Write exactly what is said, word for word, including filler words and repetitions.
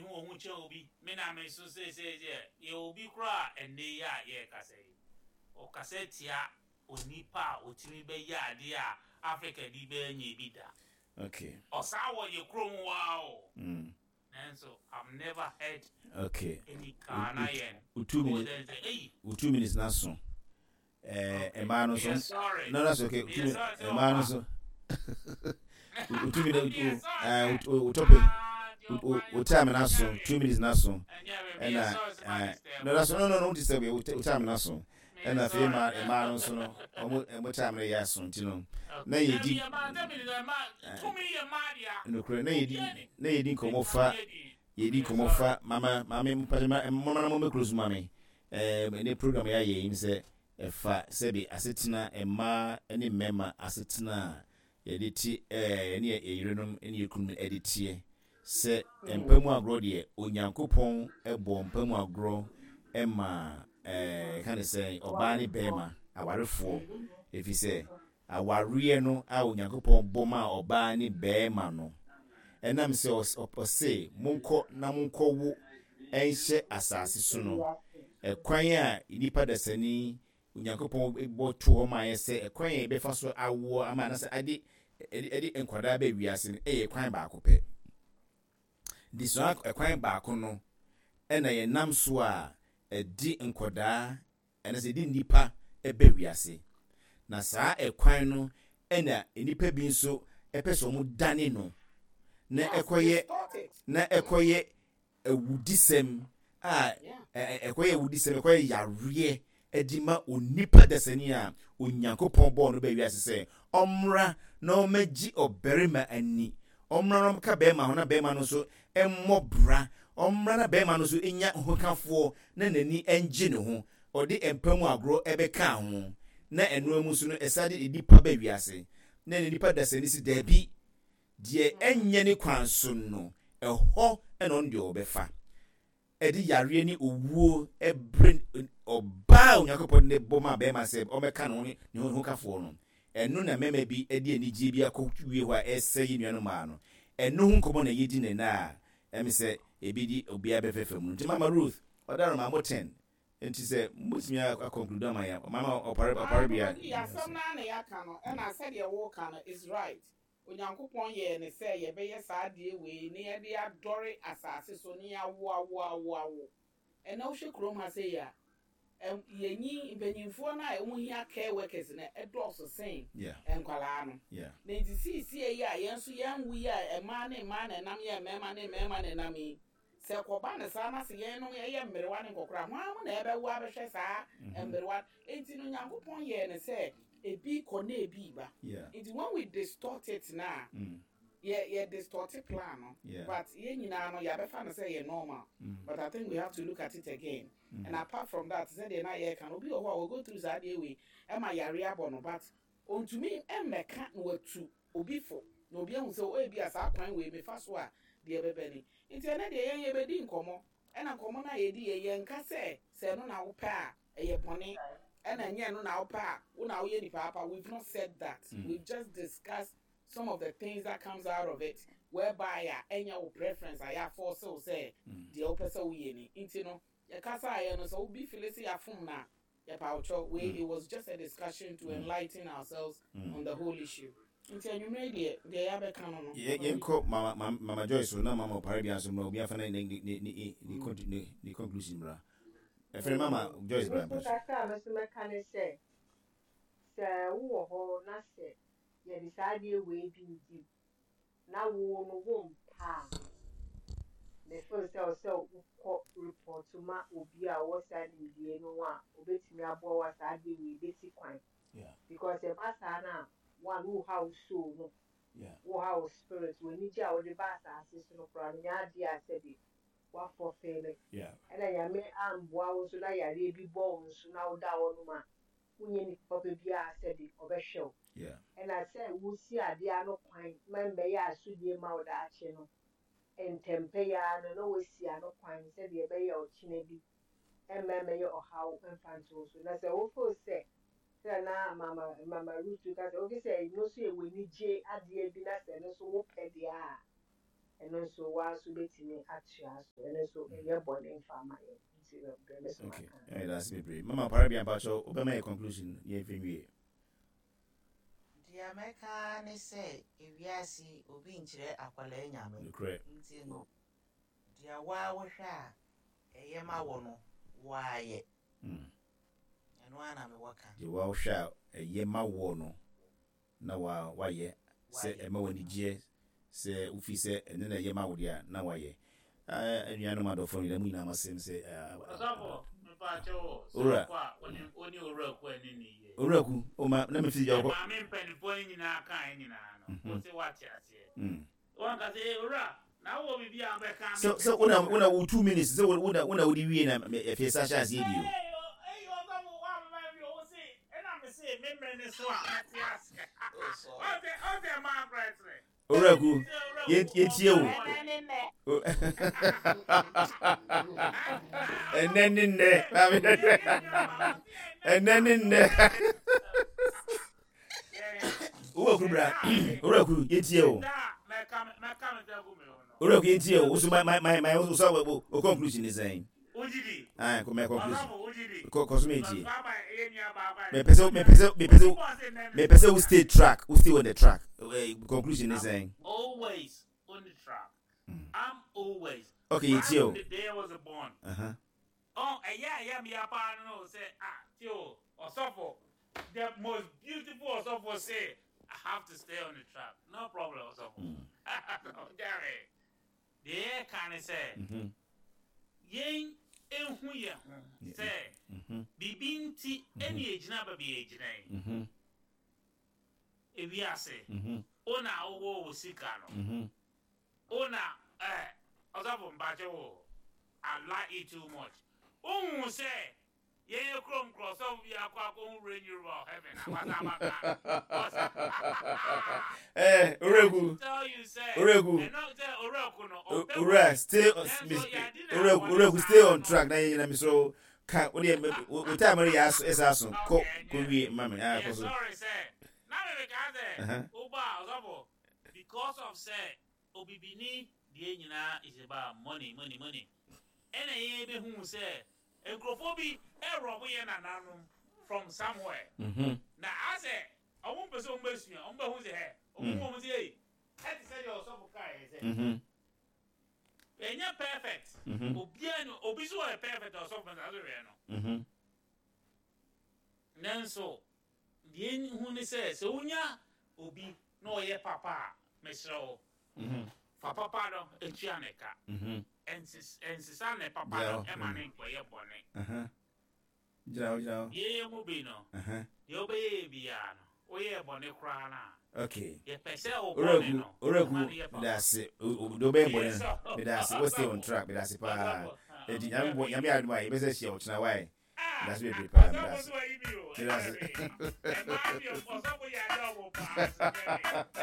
Hu ohun kyɛn obi. Me na me so sɛ sɛ sɛ yɛ obi koraa. Ɛnɛ yi a yɛrekasa yi, ɔkasa tia onipa a otumi bɛyɛ adeɛ a Africa bi bɛyɛ nyɛ bi da. Okay ɔsaa wɔ yɛ kurom waa o, mm. nanso I've never heard okay any Ghanaian wo two minutes. sɛ sɛ eyi. Wo two minutes na so ɛɛ mmaa no Yeah, so sorry. No, that's okay. Yeah, Two minutes. sorry, sɛ Mmaa no ɔba. so wo two minutes. Yeah, wo sorry, ɛɛ sɛ. wo wo topic Ah, wo wo time na so, two minutes na so. Ɛna ɛɛ no, that's no no no disturb you. Wo time na so, ɛna afei mmaa mmaa no nso no, ɔmo ɔmo time no yɛ aso, nti no na yɛdi nokorɛ na yɛdi na yɛdi nkɔmɔ fa yɛdi nkɔmɔ fa mama maame mpatɛ ma mama na mo mɛ close maame. ɛɛ ne program yɛ ayɛ yi sɛ ɛfa sɛbi asetena, mmaa ne mmarima asetena a yɛde te ɛɛ ne yɛ yerenom ne yɛ kunu ɛde teɛ sɛ mpa mu agorɔ deɛ, Onyankopɔn ɛbɔ mpa mu agorɔ ɛma ɛɛ ka ne sɛ ɔbaa ne bɛrima awarefoɔ, efi sɛ awareɛ no a Onyankopɔn bɔ ma ɔbaa ne bɛrima no, ɛnam sɛ ɔs- ɔse monkɔ na monkɔwo ɛnhyɛ asase so no, ɛkwan a nipa dasani Onyankopɔn bɔ to hɔ maa yɛ sɛ ɛkwan a yɛbɛfa so awoɔ ama anasɛ ade ɛde ɛde nkwadaa bɛ wiase no ɛyɛ kwan baako pɛ. Nti saa ɛkwan baako no ɛna yɛnam so a ɛde nkwadaa ɛna sɛ ɛde nnipa ɛbɛ wiase, na saa ɛkwan no ɛna nnipa bi nso ɛpɛ sɛ wɔn dane no na ɛkɔyɛ na ɛkɔyɛ awudisɛm a ɛ- ɛ- ɛkɔyɛ awudisɛm, ɛkɔyɛ yareɛ ɛde ma onipa dasani a Onyankopɔn bɔɔ no bɛ wiase sɛ ɔmmra na ɔmmɛgye ɔbarima ani, ɔmmra na ɔmmɛka bɛrima ho na bɛrima no nso ɛmmɔ bra, ɔmmra na bɛrima no nso nya hokafoɔ na n'ani ɛngye ne ho, ɔde mpa mu agorɔ ɛbɛka ho, na ɛnoa mu nso no ɛsa de nipa bɛ wiase, na ne nipa dasani si daabi deɛ, ɛnyɛ ne kwan so no, ɛhɔ ɛna ɔno deɛ ɔbɛfa ɛde yareɛ ne owuo ɛbrɛ ɔbaa a Onyankopɔn de bɔ ma bɛrima sɛ ɔmɛka ne ho ne ne ho kafoɔ no. Ɛno na mmarima bi de anigyeɛ bi akɔ wie hɔ a ɛsɛ yi nuanom maa no. Ɛno ho nkɔmmɔ na yɛdi ne na a ɛmi sɛ ebi di obiara bɛfɛfɛ mu. Nti Mama Ruth ɔdaro ma mo ten, nti sɛ motumi akɔnkludu ama yɛ, Mama ɔpare ɔpare bia. Asɛm naa na yɛaka no, ɛna sɛdeɛ wɔreka no is right. Onyankopɔn yɛɛ ne sɛ yɛbɛyɛ saa adeɛ wei ne yɛde adɔre asase so ne yɛawo awo awo awo. Ɛna wohwɛ kurom ha sɛ yi a, ɛm, yɛnyi mpanyinfoɔ no a wɔn hia care workers no ɛdɔɔso sen Yeah. nkwalaa no. Yeah. Na nti siisie yi a yɛn nso yɛn wu yi a, mmaa ne mmaa na ɛnam yɛ, mmarima ne mmarima na ɛnam yi, sɛ kɔba ne saa na sɛ yɛn no yɛyɛ mmerewa ne nkɔkora, hwan mu na ɛbɛwo abɛhwɛ saa mmerewa? Nti no Nyankopɔn yɛɛ ne sɛ ebi kɔ na ebi ba. Yeah. Nti when we distort it na Mm. yɛ yɛ distort plan no. Yeah. But yɛn nyinaa no yɛabɛfa no sɛ yɛ normal, Mm. but I think we have to look at it again. And apart from that, sɛdeɛ na yɛreka no, obi wɔ hɔ a wɔgo through saa adeɛ wei ɛma yare abɔ no, but ontumi mmɛka na watu obi fo na obi ahu sɛ o ebi a saa kwan wei mefa so a deɛ ɛbɛbɛ ni. Nti ɛnɛ deɛ yɛn yɛbɛdi nkɔmɔ, ɛna nkɔmɔ no a yɛdi yɛ, yɛnka sɛ sɛ ɛno na wopɛ a ɛyɛ bɔne, ɛna ɛnyɛ ɛno na wopɛ a wo na woyɛ nipa apa. We've not said that. We've just discussed some of the things that comes out of it, whereby a ɛnyɛ wo preference a yɛafɔɔse wo sɛ deɛ wopɛ sɛ woyɛ ni. Nti no yɛkasa a yɛ no sɛ wobi feel sɛ yɛafom na yɛpa wotwɛ wei. It was just a discussion to enlighten ourselves on the whole issue. Nti anwummerɛ deɛ deɛ yɛabɛka no no Yɛ- yɛnkɔ mama mama Mama Joyce so na Mama ɔpare bia nso mmra, obi afa ne ne ne ne ne ne con- ne ne conclusion mmra. Ɛfrɛ Mama Joyce bra. Nso Mpatro. kakra a mɛso mɛka ne sɛ sɛ wowɔ hɔ na sɛ yɛde saa adeɛ wei bi di na wo no wo mpa a, mefeel sɛ wo sɛ wokɔ report ma obi a ɔwɔ saa nimdeɛ no ho a obetumi aboa wo a saa adeɛ wei bɛsi kwan, Yeah. because ɛba saa no a, one, woha wo soul no, Yeah. woha wo spirit, w'anigye a wode ba asase so no koraa no nyɛ adeɛ a sɛbi woafɔfeele. Yeah. Ɛna Nyame amboa wo nso na yareɛ bi bɔ wo nso na woda hɔ nom a, wonyɛ nipa papa biara sɛbi ɔbɛhwɛ wo. Yeah. Ɛna sɛ wosi adeɛ ano kwan ma mbɛyɛ asodie ma wo daakye no, ntɛmpɛ yi ara no na woasi ano kwan sɛdeɛ ɛbɛyɛ ɔkyena bi ɛmma mmɛyɛ ɔhaw mfa nto wo so. Na sɛ wofeel sɛ sɛ na mama mama Ruth ka sɛ wofi sɛ ɛno nso yɛ w'anigye adeɛ bi na sɛ ɛno nso wopɛ deɛ a, Ɛno nso waa nso bɛtumi atoa so. Ɛno nso ɛnyɛ bɔne mfa ama yɛn. Nti deɛ me so Okay. maka. Ɛyɛ daase bebree. Mama Parabia, mpakyɛw, wobɛma yɛ conclusion, yɛmfa nwie. Deɛ mɛka ne sɛ ewiase, obi nkyerɛ akwadaa Nyame. Nokorɛ. Nti no, deɛ waa wohwɛ a ɛyɛ ma wɔ no, waayɛ. Mm. Ɛno ara na mewɔ ka. Deɛ woahwɛ a ɛyɛ ma woɔ no na wa wayɛ sɛ Wayɛ. Ɛma w'ani gyeɛ sɛ wofi sɛ ɛno na ɛyɛ ma wo deɛ a na wayɛ. Ah, anuanom adɔfoɔ nyinaa, mu nyinaa masɛm sɛ ah, ah, Ɔsɔfo, mpakyɛ wo sɛ Owura. wokɔ a wone wone owura ku ani ne yie. Owura ku ɔma na mefi gya wokɔ. Maame mpanimfoɔ no nyinaa kae nyinaa no, Mhm. wo sɛ woate aseɛ. Mm. Wanka sɛ, "Eh, owura, na wowɔ biribi a wobɛka?" sɛ sɛ wona wona wo two minutes sɛ wona wona wode wie na me- afei sa hyɛ aseɛ bio. Ei, o- ei, ɔsɔfo, woamma bi o, wo se ɛna me se me mmerɛ ne so a mɛte aseɛ. Ɔsɛ ɔsɛ maa korɛ serɛ. Owura ku, Sɛ owura yɛn- ku, yɛntie wo. Ɛnɛ ne nnɛ. Ɛnɛ ne nnɛ, maame, ɛnɛ ne nnɛ. Owura ku, bra. Owura ku, yɛntie wo. Mɛka mɛka me sɛ gu me ho no. Owura ku, yɛntie wo. Woso ma ma ma ma wo so wo wo conclusion ne sɛn? Wogyidi. Ah, kɔ mɛ conclusion. Ɔsɔfo, wogyidi. Kɔ kɔ so mɛntie. Baba, ɛyɛ nua baaba. Mepɛ sɛ mepɛ sɛ mepɛ sɛ mepɛ sɛ wo stay track, wo stay on the track. Eh, conclusion ne sɛn? Always on the track. I'm always. Okay, yɛntie o. From the day I was born. Uh-huh. Oh, ɛyɛ a ɛyɛ mi apa no sɛ, ah, tio, ɔsɔfo, the most beautiful ɔsɔfo say I have to stay on the track. No problem, ɔsɔfo. Jerry, deɛ yɛka ne sɛ Mhm. yɛn ehu yɛn ho sɛ Mhm. biribi nti ɛne yɛgyina baabi yɛgyina yi. Mhm. Ewiase, Mhm. wo na wowɔ wo sika no, Mhm. wo na ɛ ɔsɔfo, mpakyɛ wo, I like it too much. Wohu sɛ yɛyɛ kurom korɔ, ɔsɔfo bi akɔ akɔhu Range Rover heaven a wasa aba Ghana. Eh, owura ku. Tell you sɛ Owura ku. Ɛno sɛ owura ku no ɔpɛ Owura, stay on. Nanso Miss yɛade na owura wɔde owura ku, stay on saa track na yɛn nyina mi so ka o deɛ o o time reyɛ aso ɛsɛ aso kɔ Okay, kɔ wie ma mi ah yeah, kɔ so. Sorry sɛ na mebe ka sɛ Uh-huh. woba a, ɔsɔfo, because of sɛ obibini deɛ nyinaa is about money, money, money, ɛna yɛn bɛhu sɛ nkurɔfoɔ bi ɛrɔbo yɛ nananom from somewhere Mhm. na asɛ ɔmo mpɛ sɛ ɔmo bɛsua, ɔmo bɛhu sɛ ɛ ɔmo Mm. hu ɔmo sɛ ei, ɛte sɛ deɛ ɔsɔfo kaa yɛ sɛ Mhm. ɛnyɛ perfect. Mhm. Obiara ni obi so ɔyɛ perfect a, ɔsɔfo mɛsa so hwɛ no. Mhm. Nanso deɛ hu ne sɛ sɛ wonya obi na ɔyɛ papa a, mesrɛ wo, Mhm. fa papa no etua ne ka. Mhm. Ɛnses- ɛnsesa ne papa Yeah, no ɛma mm. ne nkɔyɛ bɔne. Uh-huh. Gyina hɔ, gyina hɔ. Yɛyɛ mu bi no, Uh-huh. deɛ wobɛyɛ yɛ biara no, woyɛ bɔne koraa no a, Okay. yɛpɛ sɛ wo Owura bɔne ku, no owura ku, ma no yɛ papa. meda ase. O o deɛ ɔbɛyɛ bɔne Yes, no, sir. meda ase. Wo stay on track, meda ase paa. Ɔsɔfo, ah, Eti Nyame bɔ Nyame adom a yɛbɛsɛ hyia ɔkyena wae. Ah, Meda ase bebree paa, meda ɔsɔfo ase. so ayi mi o. Meda ase. Ɛmaa mi o, ɔsɔfo yɛ ade ɔmo paa so.